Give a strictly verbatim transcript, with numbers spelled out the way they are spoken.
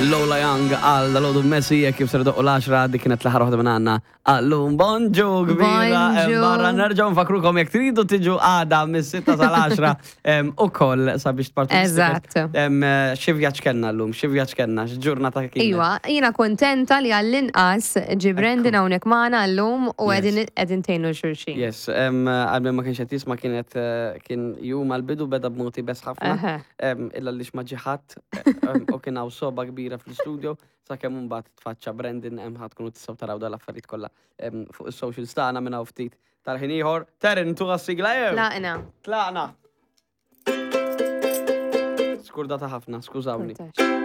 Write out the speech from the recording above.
Lola Young għal dal-għodu Messi, jekk kif ser doqqu l-għaxra, dik kienet l-aħħar waħda minn għandna. Għallum, bonġu kbira, Bonġu. barra nerġgħu nfakrukom jekk tridu tiġu għada mis-sitta sal-għaxra ukoll sabiex tpartu. Eżatt. Xi vjaġġ kellna llum, xi vjaġġ kellna, x'ġurnata kienet. Iwa, jiena kontenta li għall-inqas ġi Brandon hawnhekk magħna llum u Yes. qegħdin qegħdin tgħinu xulxin. Yes, em, għal ma kienx qed jisma' kienet eh, kien jum għal-bidu beda b'mod iebes ħafna. Eħe. Em, Illa li ma ġiħat u kien hawn soba kbira fl-studio sakemm imbagħad tfaċċa Brandon hemm ħadd tkunu tistgħu taraw dal-affarijiet kollha em, fuq is-socials tagħna minn hawn ftit tal-ħin ieħor. Terin tuha s-sigla jew? Tlaqna. Tlaqna. Skurdata ħafna, skużawni. Kontax.